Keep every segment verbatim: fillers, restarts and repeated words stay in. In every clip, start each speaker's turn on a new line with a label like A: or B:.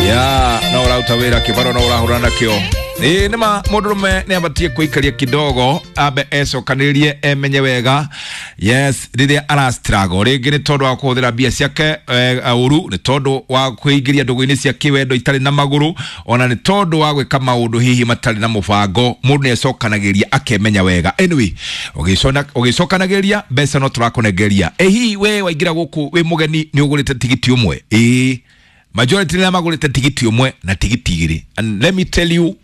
A: Ya no ũraruta wĩra kĩbaro no ũrahũrana nakĩo. Ĩĩ nĩma mũndũrũme nĩ abatie kũikaria kidogo ambe ecokanĩrĩrie emenye wega. Yes, rĩrĩa ara struggle rĩngĩ nĩ tondũ wa kũhũthĩra mbia ciake ũru, nĩ tondũ wa kwĩingĩria ndũgũ-inĩ cia kĩwendo itarĩ na magũrũ, ona nĩ tondũ wa gwĩka maũndũ hihi matarĩ na mũbango. Mũndũ nĩ ecokanagĩria akemenya wega. Anyway, ũgĩcokanagĩria mbeca no tũrakũnengeria. Ĩ hihi we waingĩra gũkũ wĩ mũgeni nĩ ũgũrĩte tigiti ũmwe? Ĩĩ, majority nĩ magũrĩte tigiti ũmwe na tigiti igĩrĩ. And let me tell you,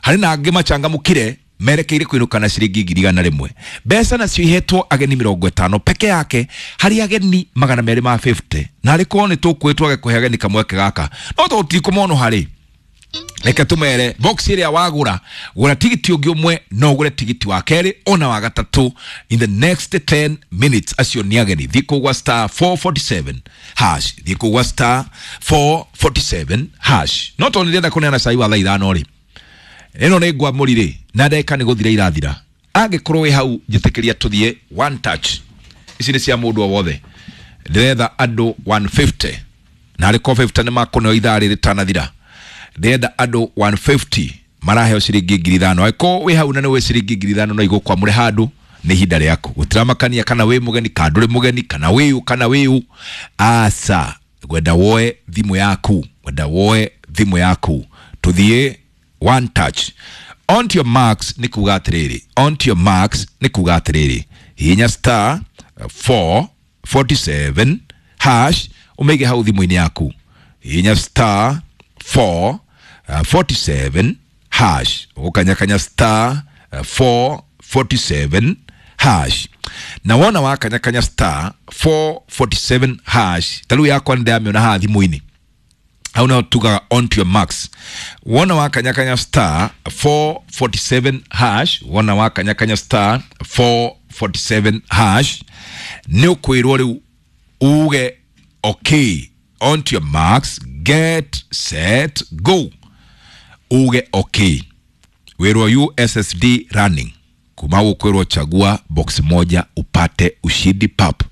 A: harĩ na angĩ machangamũkire merekeire kũinũka na ciringi ngiri igana rĩmwe. Mbeca nacio ihetwo ageni mĩrongo ĩtano peke yake harĩ ageni magana merĩ ma fifty. Na arĩ korwo nĩ tũkwĩ twage kũhe ageni kamweke gaka, no tũtikũmona harĩ. Reke tũmere box ĩrĩa wagũra, gũra tigiti ũngĩ ũmwe, no ũgũre tigiti wa kerĩ ona wa gatatũ in the next ten minutes. Acio nĩ ageni. Thiĩ kũgwa star four forty-seven hash, thiĩ kũgwa star four forty-seven hash. No tondũ nĩndĩrenda kũneana cai wa thaa ithano rĩ, ĩno nĩ ngwamũri rĩ, na ndagĩka nĩ gũthira irathira. Angĩkorwo wĩ hau njĩtĩkĩria tũthiĩ one touch. Ici nĩ cia mũndũ o wothe. Ndĩretha andũ one fifty na arĩ ko fifty nĩ makũneo ithaa rĩrĩ rĩtanathira. Ndĩrenda andũ one fifty maraheo ciringi ngiri ithano. Angĩkorwo wĩ hau na nĩ wĩ ciringi ngiri ithano no igũkwamũre handũ, nĩ ihinda rĩaku. Gũtiramakania kana wĩ mũgeni kana ndũrĩ mũgeni, kana wĩũ kana wĩũ. Aca, ngwenda woe thimũ yaku, ngwenda woe thimũ yaku tũthiĩ one touch. On to your marks nĩ kuga atĩrĩrĩ, on to your marks nĩ kuga atĩrĩrĩ, hihinya star four forty-seven hash ũmĩige hau thimũ-inĩ yaku. Hihinya star four forty-seven hash, ũgũkanyakanya star four forty-seven hash. Na wona wakanyakanya star four forty-seven hash, ta rĩu yakwa nĩ ndĩramĩona haha thimũ-inĩ, hau nĩho tugaga on to your marks. Wona wakanyakanya star four forty-seven hash, wona wakanyakanya star four forty-seven hash, nĩ ũkwĩrwo rĩu uge okay, on to your marks, get set go. Uge okay, wĩrwo U S S D running. Kuma ũkwĩrwo chagua box moja upate ushindi pap.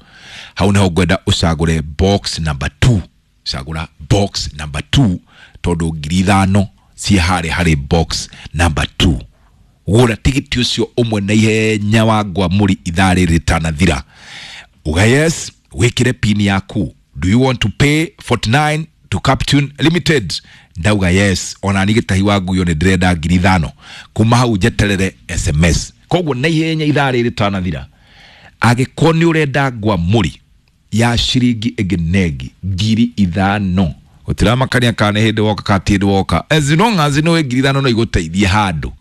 A: Hau nĩho ngwenda ũcagũre box number two. Cagũra box number two tondũ ngiri ithano ciĩ harĩa harĩ box number two. Gũra tigiti ũcio ũmwe na ihenya wa ngwamũri ithaa rĩrĩ rĩtanathira. Uga yes, wĩkĩre pin yaku. Do you want to pay forty-nine to Captune Limited? Ndauga yes, ona ni gĩtahi wa nguyo nĩ ndĩrenda ngiri ithano. Kuma hau njeterere S M S. Koguo na ihenya ithaa rĩrĩ rĩtanathira, angĩkorwo nĩ ũrenda ngwamũri ya ciringi ĩngĩ negi ngiri ithano, gũtiramakania kana nĩ hĩndĩ woka kana ti hĩndĩ woka, as long as nĩ ngiri ithano no igũteithie handũ,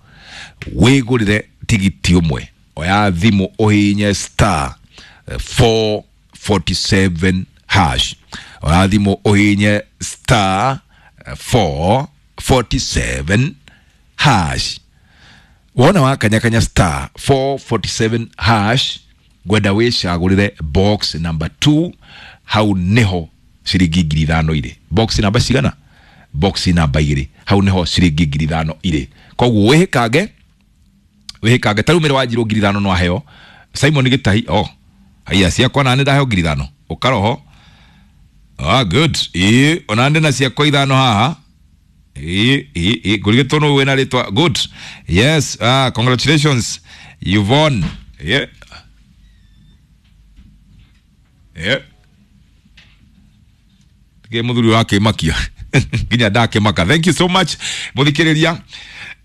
A: wĩgũrĩre tigiti ũmwe. Oya thimũ ũhihinye star four forty-seven hash. Oya thimũ ũhihinye star four forty-seven hash. Wona wakanyakanya star four forty-seven hash, ngwenda wĩcagũrĩre box number two. Hau nĩho ciringi ngiri ithano irĩ. Box number cigana? Box number igĩrĩ. Hau nĩho ciringi ngiri ithano irĩ. Koguo wĩhĩkange, wĩhĩkange. Ta rĩu mĩrĩ wanjirwo ngiri ithano no aheo Simon Gĩtahi. Oh, haiya, ciakwa na nĩ ndaheo ngiri ithano. Ũkaroho. Ah, good. Ĩĩ, ona ndĩ na ciakwa ithano haha. Ĩĩ, ĩĩ, ĩĩ, ngũrigĩtwo nũ wĩna rĩtwa. Good. Yes, ah, congratulations. You've won. Yeah. Yeah. Ke muthuri wakĩmakia nginya ndakĩmaka. Thank you so much mũthikĩrĩria.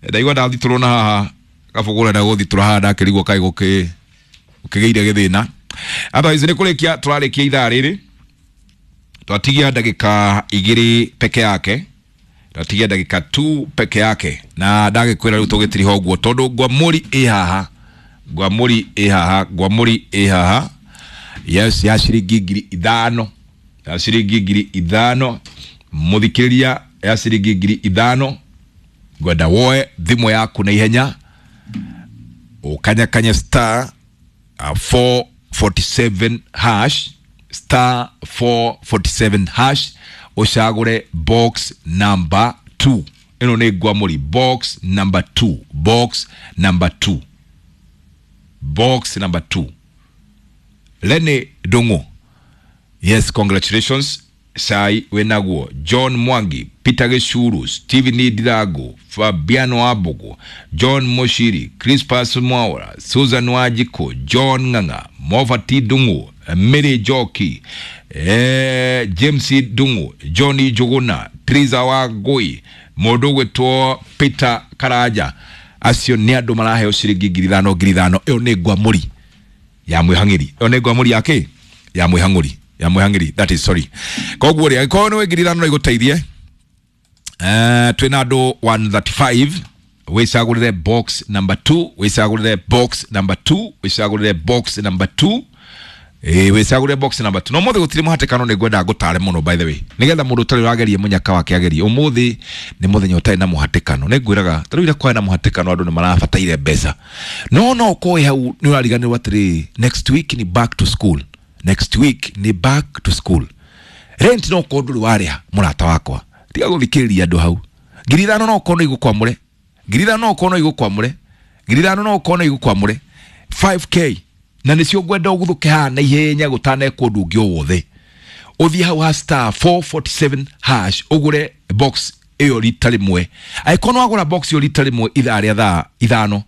A: Ndaigua ndathitũrwo na haha kabũgũra na gũthitũra haha ndakĩrigwo kaĩ gũkĩ gũkĩgĩire gĩthĩna. Otherwise nĩ kũrĩkia tũrarĩkia ithaa rĩrĩ, twatigia ndagĩka igĩrĩ peke yake, twatigia ndagĩka two peke yake, na ndagĩkwĩra rĩu tũgĩtiriha ũguo tondũ ngwamũri ĩ haha, ngwamũri ĩ haha, ngwamũri ĩ haha. Yes, ya ciringi ngiri ithano, ya ciringi ngiri ithano mũthikĩrĩria, ya ciringi ngiri ithano. Ngwenda woe thimũ yaku na ihenya ũkanyakanye star four forty-seven hash, star four forty-seven hash, ũcagũre box number two. Ĩno nĩ ngwamũri, box number two, box number two, box number two. Lene Ndung'u, yes, congratulations. Cai wĩnaguo, John Mwangi, Peter Gĩcuru, Stephen Ndirango, Fabiano Wambugu, John Mushiri, Crispus Mwaura, Susan Wanjikũ, John Ng'ang'a, Mofati Ndung'u, Mary Njoki, eh, James Ndung'u, John Njuguna, Triza Wangui, mũndũ ũgwĩtwo Peter Karanja. Acio nĩ andũ maraheo ciringi ngiri ithano ngiri ithano. Ĩyo nĩ ngwamũri ya mwĩhang'ĩri, ĩyo nĩ ngwamũri ya kĩ ya mwĩhang'ũri ya mwĩhang'ĩri, that is, sorry. Koguo rĩ, angĩkorwo nĩ ngiri ithano no igũteithie, eh, twĩna andũ one thirty-five. Wĩcagũrĩre box number two, wĩcagũrĩre box number two, wĩcagũrĩre box number two. Ĩĩ, wĩcagũrĩre box number two. No mũthĩ gũtirĩ mũhatĩkano, nĩ ngwenda ngũtare mũno, by the way, nĩgetha mũndũ ũtarĩ ũrageria mũnyaka wake agerie. Ũmũthĩ nĩ mũthenya ũtarĩ na mũhatĩkano. Nĩ ngwĩraga tarĩu ira kwarĩ na mũhatĩkano, andũ nĩ marabataire mbeca, no no ũkorwo wĩ hau nĩ ũrariganĩrwo atĩrĩrĩ, next week ni back to school, next week ni back to school. Rent no ũkorwo ndũrĩ warĩha, mũrata wakwa, tiga gũthikĩrĩria andũ hau. Ngiri ithano no ũkorwo no igũkwamũre, ngiri ithano no ũkorwo no igũkwamũre, ngiri ithano no ũkorwo no igũkwamũre, five k, na nĩcio ngwenda ũguthũke haha na ihenya gũtanekwo ũndũ ũngĩ o wothe. Ũthiĩ hau ha star four forty-seven hash, ũgũre box ĩyo rita rĩmwe. Angĩkorwo nĩ wagũra box ĩyo rita rĩmwe ithaa rĩa thaa ithano,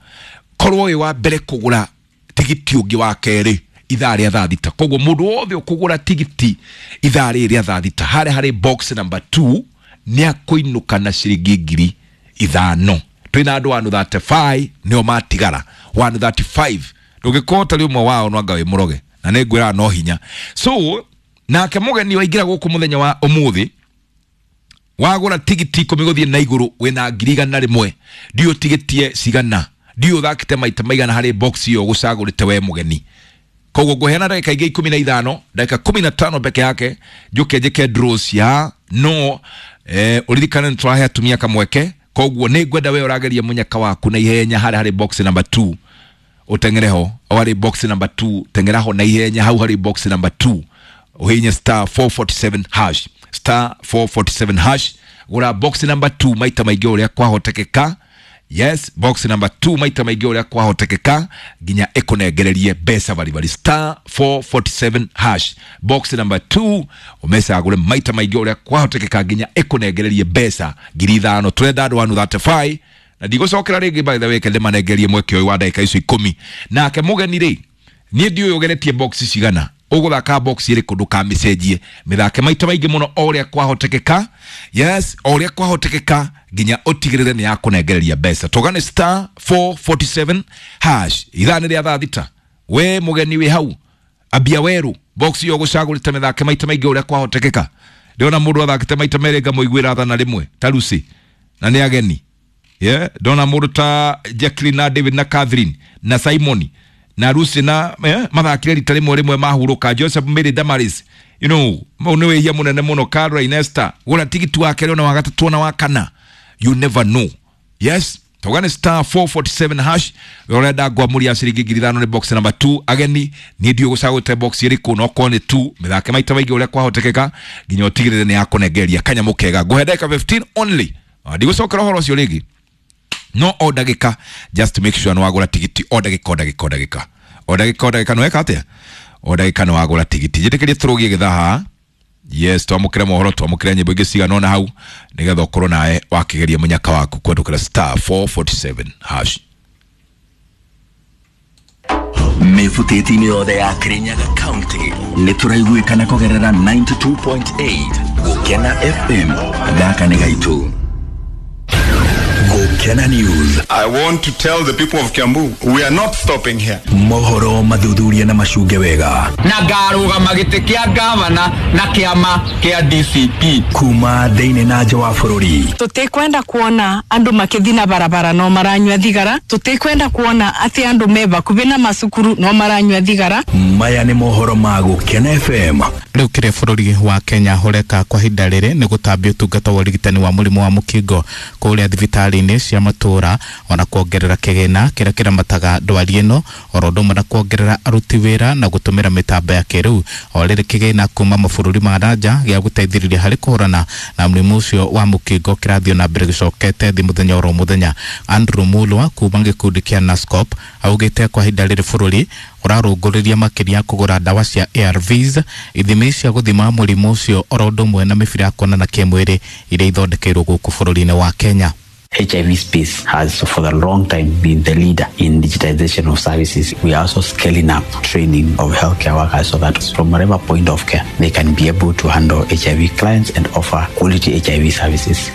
A: korwo wĩ wa mbere kũgũra tigiti ũngĩ wa kerĩ ithaa rĩa thaa thita. Koguo mũndũ wothe ũkũgũra tigiti ithaa rĩrĩ rĩa thaa thita harĩa harĩ box number two nĩ akũinũka na ciringi ngiri ithano. Twĩna andũ one thirty-five nĩo matigara, one thirty-five. Ndũngĩkorwo ũtarĩ ũmwe wao, no anga wĩ mũroge, na nĩ ngwĩraga no hinya. So nake mũgeni waingĩra gũkũ mũthenya wa ũmũthĩ, wagũra tigiti ikũmi gũthiĩ na igũrũ, wĩna ngiri igana rĩmwe. Ndiũ tigiti cigana, ndiũ ũthakĩte maita maigana harĩ box ĩyo ũgũcagũrĩte we mũgeni. Koguo ngũheana ndagĩka ingĩ ikũmi na ithano, ndagĩka kumi na tano peke yake, njũke njĩke draw cia no eh, ũririkane nĩ tũrahe atumia kamweke. Koguo nĩ ngwenda we ũrageria mũnyaka waku na ihenya harĩa harĩ box number two, ũteng'ere ho o harĩ box number two. Teng'era ho na ihenya hau harĩ box number two, ũhinye star four forty-seven hash, star four forty-seven hash, gũra box number two maita maingĩ ũrĩa kwahotekeka. Yes, box number two maita maingĩ ũrĩa kwahotekeka nginya ĩkũnengererie mbeca baribari. Star four forty-seven hash, box number two, ũmecagũre maita maingĩ ũrĩa kwahotekeka nginya ĩkũnengererie mbeca ngiri ithano. Tũrenda andũ one thirty-five na ndigũcokera rĩngĩ, by the way, kende manengerie mweke ũyũ wa ndagĩka icio ikũmi. Nake mũgeni rĩ, niĩ ndiũĩ ũgeretie box cigana, ũgũthaka box ĩrĩkũ, ndũkamĩcenjie, mĩthake maita maingĩ mũno o ũrĩa kwahotekeka. Yes, o ũrĩa kwahotekeka nginya ũtigĩrĩre nĩ yakũnengereria mbeca. Tũgane star four forty-seven hash ithaa nĩ rĩa thaa thita. We mũgeni wĩ hau, ambia werũ, box ĩyo ũgũcagũrĩte mĩthake maita maingĩ ũrĩa kwahotekeka. Ndĩrona mũndũ athakĩte maita merĩ ngamũiguĩra tha na rĩmwe ta Lucy, na nĩ ageni. Yeah, ndona mũndũ ta Jacqueline na David na Catherine na Simon na Lucy na eh, mathakire rita rĩmwe rĩmwe mahurũka. Joseph, Mary, Damaris, you know mau nĩ wĩhia mũnene mũno. Caroline, Esther, gũra tigiti wa kerĩ ona wa gatatũ ona wa kana, you never know. Yes, togane star four forty-seven hash. Ũrenda ngwamũria ciringi ngiri ithano nĩ box number two. Ageni, niĩ ndiũ gũcagũte box ĩrĩkũ, no korwo nĩ two, mĩthake maita maingĩ ũrĩa kwahotekeka nginya ũtigĩrĩre nĩ yakũnengeria kanyamũ kega. Ngũhe ndagĩka fifteen only. Ah, ndigũcokera ũhoro ũcio rĩngĩ, no o ndagĩka just to make sure nĩ wagũra tigiti, o ndagĩka, o ndagĩka, o ndagĩka, o ndagĩka, o ndagĩka, nĩ weka atĩa, o ndagĩka nĩ wagũra tigiti. Njĩtĩkĩrie tũrũgie gĩthaa haha. Yes, twamũkĩre mohoro, twamũkĩre nyĩmbo ingĩ cigana ũna hau nĩgetha ũkorwo nawe wakĩgeria mũnyaka waku kũhetũkĩra star four forty-seven hash.
B: Mĩbutĩti-inĩ yothe ya Kirinyaga County nĩ tũraiguĩkana kũgerera ninety-two point eight Gũkena F M. Gaka nĩ gaitũ, Gũkena News.
C: I want to tell the people of Kiambu, we are not stopping here.
B: Mohoro mathuthuria na macunge wega.
D: Na ngarũgama gĩtĩ kĩa gavana na kĩama kĩa D C P.
B: Kuma thĩinĩ na nja wa bũrũri.
E: Tutikwenda kuona andu makithi na barabara no maranyua thigara. Tutikwenda kuona ati andu me bakubi na macukuru no maranyua thigara.
B: Maya nĩ mohoro ma Gũkena F M.
F: Rĩu kĩrĩa bũrũri wa Kenya ũreka kwa ihinda rĩrĩ nĩ gũtambia ũtungata wa ũrigitani wa mũrimũ wa mũkingo kũrĩa thibitarĩ-inĩ cia cia matũra ona kuongerera kĩgĩna kĩrĩa kĩramataga ndwari ĩno oro ũndũ ũmwe na kuongerera aruti wĩra na gũtũmĩra mĩtambo ya kĩrĩu o rĩrĩ kĩgĩna kuma mabũrũri ma nja gĩa gũteithĩrĩria harĩ kũhũrana na mũrimũ ũcio wa mũkingo kĩrathiĩ na mbere gĩcokete thĩ mũthenya oro mũthenya. Andrew Mulwa kuma gĩkundi kĩa NASCOP augĩte kwa ihinda rĩrĩ bũrũri ũrarũngũrĩria makĩria kũgũra ndawa cia A R Vs, ithimi cia gũthima mũrimũ ũcio oro ũndũ ũmwe na mĩbira ya kuonana kĩmwĩrĩ iria ithondekeirwo gũkũ bũrũri-inĩ wa Kenya.
G: H I V space has for a long time been the leader in digitization of services. We are also scaling up training of healthcare workers so that from whatever point of care they can be able to handle H I V clients and offer quality H I V services.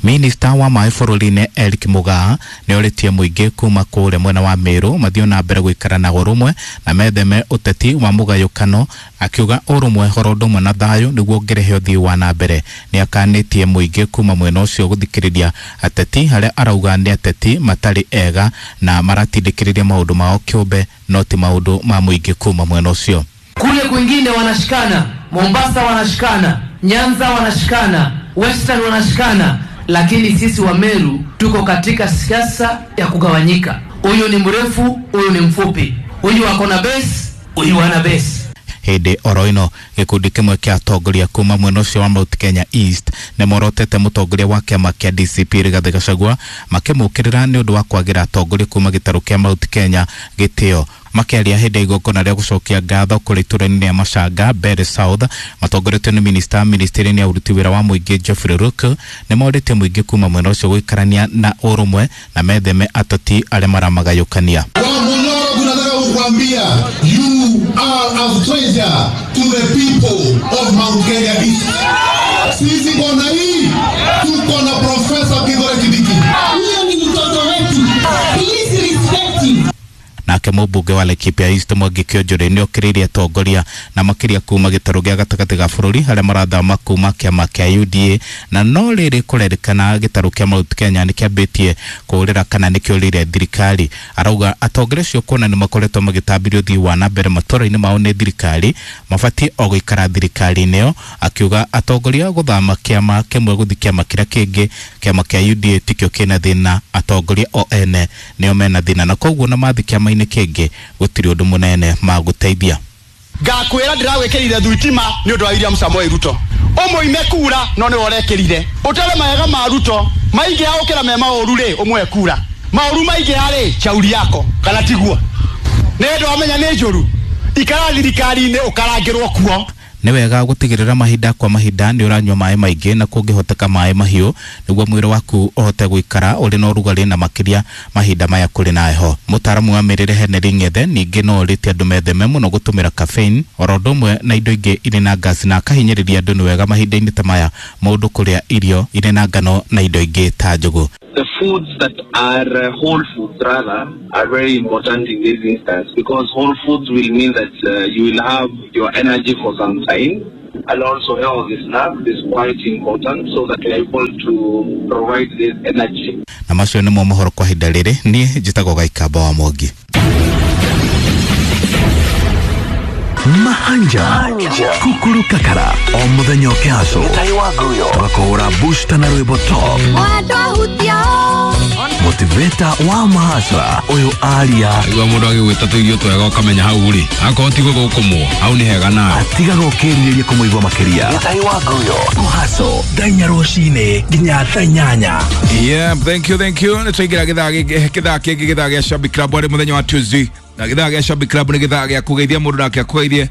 F: Minista wa maĩ bũrũri-inĩ Eric Mugaa nĩorĩtie mũingĩ kuma kũrĩa mwena wa Meru mathiĩ na mbere gũikara na ũrũmwe na metheme ũteti wa mũgayũkano, akiuga ũrũmwe oro ũndũ ũmwe na thayũ nĩguo ũngĩrehe ũthii wa na mbere. Nĩakanĩtie mũingĩ kuma mwena ũcio gũthikĩrĩria ateti harĩa arauga nĩ ateti matarĩ ega na maratindĩkĩrĩria maũndũ mao kĩũmbe no ti maũndũ ma mũingĩ kuma mwena ũcio.
H: Kule kwingine wanashikana, Mombasa wanashikana, Nyanza wanashikana, Western wanashikana, lakini sisi wa Meru tuko katika siasa ya kugawanyika. Huyu ni mrefu, huyu ni mfupi, huyu ako na base, huyu ana base.
F: Hĩndĩ oro ĩno gĩkundi kĩmwe kĩa atongoria kuma mwena ũcio wa Mount Kenya East nĩmorotete mũtongoria wa kĩama kĩa D C P Rigathĩ Gachagua makĩmũkĩrĩra nĩ ũndũ wa kwagĩra atongoria kuma gĩtarũ kĩa Mount Kenya gĩtĩo. Makĩaria hĩndĩ ya igongona rĩa gũcokia ngatho kũrĩ itũra-inĩ rĩa Machanga Mbere South matongoretio nĩ minista ministry-inĩ ya ũruti wĩra wa mũingĩ Geoffrey Ruku nĩmorĩtie mũingĩ kuma mwena ũcio gũikarania na ũrũmwe na metheme ateti arĩa maramagayũkania.
I: Kuambia, you are a treasure to the people of Mount Kenya East. Sisi kona hii tuko na Professor Kithure Kindiki.
J: Huyo ni mtoto wetu. Please respect him.
F: Nake mũmbunge wa Laikipia East Mwangi Kĩonjũrĩ nĩokĩrĩirie atongoria na makĩria kuma gĩtarũ gĩa gatagatĩ ga bũrũri harĩa marathama kuma kĩama kĩa U D A, na no rĩrĩ kũrerĩkana gĩtarũ kĩa Mount Kenya nĩkĩambĩtie kũũrĩra kana nĩkĩũrĩire thirikari. Arauga atongoria acio kuona nĩmakoretwo magĩtambirio ũthii wa na mbere matũra-inĩ mao nĩ thirikari mabatiĩ o gũikara thirikari-inĩ ĩyo, akiuga atongoria gũthama kĩama kĩmwe gũthiĩ kĩama kĩrĩa kĩngĩ, kĩama kĩa U D A tikĩo kĩna thĩna, atongoria o ene nĩo mena thĩna na koguo na mathi kĩama-inĩ kĩngĩ gũtirĩ ũndũ mũnene magũteithia.
K: Ngakwĩra ndĩragwĩkĩrire thitima nĩ ũndũ wa William Samoei Ruto, ũmũime kura no nĩwe ũrekĩrire, ũtere maega ma Ruto maingĩha gũkĩra me maũru rĩ ũmũhe kura, maũru maingĩha rĩ chauri yako kana tiguo, nĩ ũndũ wamenya nĩ njũru, ikara thirikari-inĩ ũkarangĩrwo kuo.
F: Nĩ wega gũtigĩrĩra mahinda kwa mahinda nĩ ũranyua maĩ maingĩ na kũngĩhoteka maĩ mahiũ nĩguo mwĩrĩ waku ũhote gũikara ũrĩ na ũrugarĩ na makĩria mahinda maya kũrĩ na heho. Mũtaaramu wa mĩrĩre Henry Ng'ethe ningĩ no orĩtie andũ metheme mũno gũtũmĩra caffeine oro ũndũ ũmwe na indo ingĩ irĩ na gas, na akahinyĩrĩria andũ nĩ wega mahinda-inĩ ta maya mũndũ kũrĩa irio irĩ na ngano na indo ingĩ ta njũgũ.
L: The foods that are uh, whole foods rather are very important in this instance, because whole foods will mean that uh, you will have your energy for some time, and also healthy snack is quite important so that you are able to provide this energy.
F: Na macio nĩmo mohoro kwa ihinda rĩrĩ, niĩ njĩtagwo Gaikamba wa Mwangi.
B: Mahanja Kukuru Kakara o muthenya ũkĩhaco tũgakũhũra booster na rwĩmbo top motivator wa mahasra ũyũ aria
A: igua mũndũ agĩgwĩta tũirio twega ũkamenya hau rĩ akorwo ti gũthũkũmwo hau nĩ hega nawe
B: atigaga ũkĩrirĩria kũmũigua makĩria kũhaco thaa inya rũcinĩ nginya thaa inyanya.
A: Yeah, thank you, thank you. Nĩtwaingĩra gĩthaa gĩthaa kĩngĩ gĩthaa gĩa Shabik Club arĩ mũthenya wa Tuesday, na gĩthaa gĩa Shabik Club nĩ gĩthaa gĩa kũgeithia mũndũ nake akũgeithie.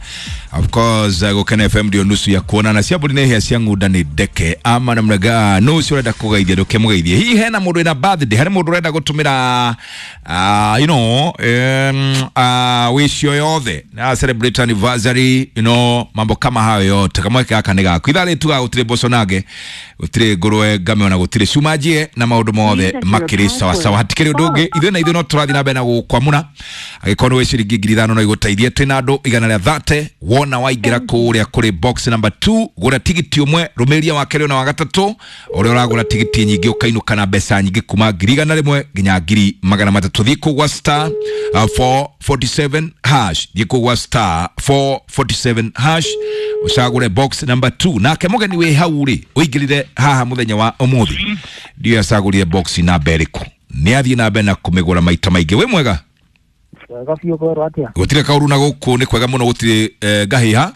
A: Of course Gũkena F M ndio nusu ya kuonana, cia mbũri nĩ hĩa cia ng'unda nĩ ndeke ama na mrega no ũcio ũrenda kũgeithia ndũkĩmũgeithie. Hihi hena mũndũ wĩna birthday, harĩ mũndũ ũrenda gũtũmĩra uh, you know um, uh, wish yoyothe na celebrate anniversary, you know mambo kama hayo yote, kamweke gaka nĩ gaku. Ithaa rĩrĩ tugaga gũtirĩ mboco nage, gũtirĩ ngũrwe ngame ona gũtirĩ cuma njie na maũndũ mothe makĩrĩ sawasawa, hatikĩrĩ ũndũ ũngĩ. Ithuĩ na ithuĩ no tũrathiĩ na mbere na gũkwamũra, angĩkorwo nĩ wĩ ciringi ngiri ithano no igũteithie. Twĩna andũ igana rĩa thate, wona waingĩra kũrĩa kũrĩ box number two gũra tigiti ũmwe, rũmĩrĩria wa kerĩ na wa gatatũ, ũrĩa ũragũra tigiti nyingĩ ũkainũka na mbeca nyingĩ kuma ngiri igana rĩmwe nginya ngiri magana matatũ. Thiĩ kũu gwa star uh, four forty-seven hash, thiĩ kũu gwa star four forty-seven hash ũcagũre box number two. Nake mũgeni wĩ hau rĩ ũingĩrire haha mũthenya wa ũmũthĩ, Ndiyo acagũrire box namba ĩrĩkũ. Nĩ athiĩ na mbere na kũmĩgũra maita maingĩ. Wĩ mwega?
M: Wega biũ kwĩrwo atĩa?
A: Gũtirĩ kaũru na gũkũ nĩ kwega mũno gũtirĩ eh, ngahĩha.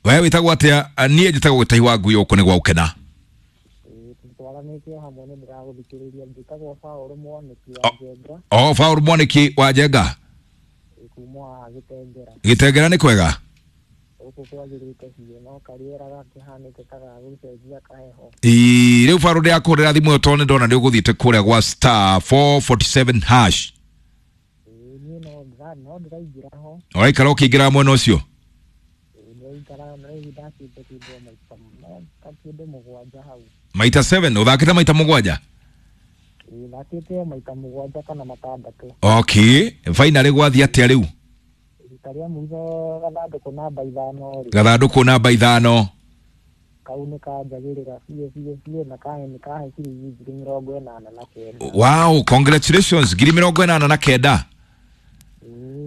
A: We wĩtagwo atĩa? Niĩ njĩtagwo Gĩtahi wa Ngui gũkũ nĩ gwa gũkena.
M: Twaranĩtie hamwe nĩ ndĩragũthikĩrĩria. Njĩtagwo Paũlũ Mwanĩki wa Njenga.
A: O Paũlũ Mwanĩki wa Njenga.
M: Kuma Gĩtengera.
A: Gĩtengera nĩ kwega?
M: Gũkũ kwagĩrĩte biũ no karĩera gakĩhanĩte ta gagũcenjia kaheho.
A: Ĩĩ rĩu Paũlũ ndĩrakũhũrĩra thimũ ĩyo tondũ nĩndona nĩ ũgũthiĩte kũrĩa gwa star four forty-seven hash.
M: Ĩĩ niĩ no ndĩra no ndĩraingĩra ho.
A: Ũraikara ũkĩingĩra mwena ũcio? Maita seven uthakite maita mugwanja?
M: Thakite maita mugwanja kana matandatũ.
A: Okay, finally gwathi atia riu?
M: Rita rĩa mũico gathandũkũ namba ithano rĩ.
A: Gathandũkũ namba ithano.
M: Kau nĩ kanjagĩrĩra biũ biũ biũ na kahe nĩ kahe ciringi ngiri mĩrongo ĩnana na kenda.
A: Wow, congratulations, ngiri mĩrongo ĩnana na kenda.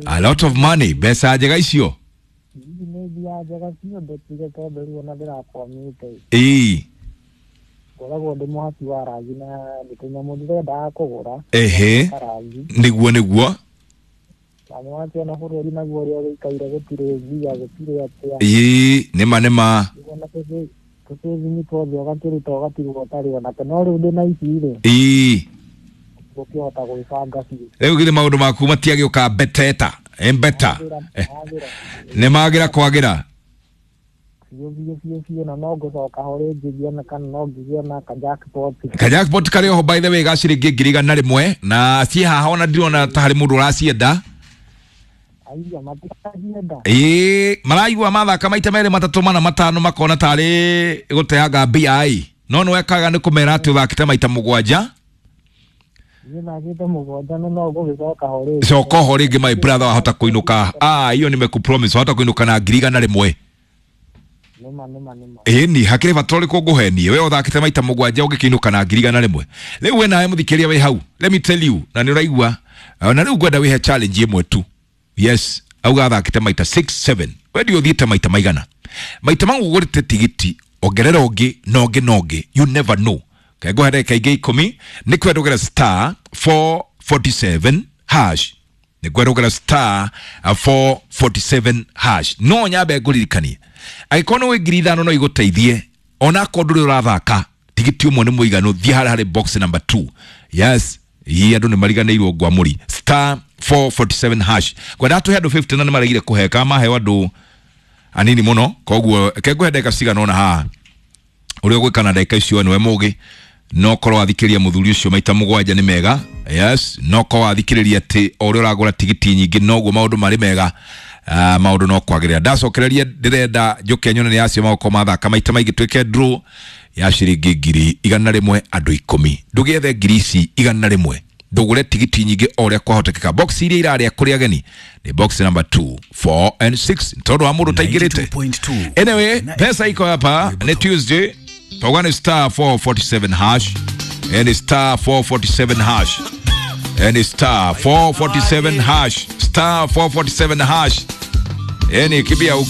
A: A lot of money, mbeca njega icio. Ĩĩ.
M: Ngoragwo ndĩ mũhaki wa rangi na nĩ tũnyamũ ndĩrendaga kũgũra.
A: Ehe. Nĩguo nĩguo.
M: Na nĩwakĩona bũrũri naguo ũrĩa ũgĩikaire gũtirĩ mbia gũtirĩ atĩa.
A: Ĩĩ nĩma nĩma.
M: Tũcĩbini tuothe ũgakĩruta ũgatigwo ũtarĩ onake no rĩu ndĩna ici rĩ.
A: Ĩĩ.
M: Gũkĩhota gwĩbanga biũ.
A: Rĩu githĩ maũndũ maku matiagĩũka beteta. Embeta. Nĩ magĩra kwagĩra.
M: Biũ biũ biũ biũ na no ngũcoka ho rĩngĩ ngĩona kana no ngĩgĩe na ka jackpot.
A: Ka jackpot karĩ oho by the way ga ciringi ngiri igana rĩmwe na ciĩ haha ona ndirona ta harĩ mũndũ ũracienda.
M: Aiya matiracienda.
A: Ĩĩ maraigua mathaka maita merĩ matatũ mana matano makona tarĩ gũteanga mbia ĩ. No nĩ wekaga nĩ kũmera atĩ ũthakĩte maita mũgwanja.
M: Niĩ thakĩte mũgwanja na no ngũgĩcoka ho rĩngĩ.
A: Coka ho rĩngĩ my brother wahota kũinũka. Ah hiyo nimekupromise wahota kũinũka na ngiri igana rĩmwe.
M: Nĩma nĩma nĩma.
A: Ĩni hakĩrĩ bata ũrĩkũ ngũhenie we ũthakĩte maita mũgwanja ũngĩkĩinũka na ngiri igana rĩmwe. Rĩu we nawe mũthikĩrĩria wĩ hau let me tell you na nĩ ũraigua na rĩu ngwenda wĩhe challenge ĩmwe tu. Yes auga athakĩte maita six seven we ndiũ ũthiĩte maita maigana maita mau ũgũrĩte tigiti ongerera ũngĩ na ũngĩ na ũngĩ you never know. Kengũhe ndagĩka ingĩ ikũmi nĩ kwendũgĩra star four forty-seven hash nĩ kwendũgĩra star four forty-seven hash no nyambe ngũririkanie angĩkorwo nĩ wĩ ngiri ithano no igũteithie ona akorwo ndũrĩ ũrathaka tigiti ũmwe nĩ mũiganu thiĩ harĩa harĩ box number two. Yes ii andũ nĩ mariganĩirwo ngwamũri star four forty-seven hash kwenda tũhe andũ fifty na nĩ maregire kũheka maheo andũ anini mũno koguo kengũhe ndagĩka cigana ũna haha ũrĩa ũgwĩka na ndagĩka icio nĩwe mũgĩ no korwo wathikĩrĩria mũthuri ũcio maita mũgwanja nĩ mega. Yes no korwo wathikĩrĩria atĩ o ũrĩa ũragũra tigiti nyingĩ noguo maũndũ marĩ mega. Uh, maũndũ no kwagĩrĩra ndacokereria ndĩrenda njũke nyone nĩ acio magũkorwo mathaka maita maingĩ twĩke draw ya ciringi ngiri igana rĩmwe andũ ikũmi ndũgĩethe ngiri ici igana rĩmwe ndũgũre tigiti nyingĩ o ũrĩa kwahotekeka box iria irarĩa kũrĩ ageni nĩ box number two four and six tondũ wa mũndũ ũtaingĩrĩte. Anyway pesa iko hapa nĩ Tuesday tauga nĩ star four forty-seven hash and star four forty-seven hash and star four forty-seven hash star four forty-seven hash yani kibia huko.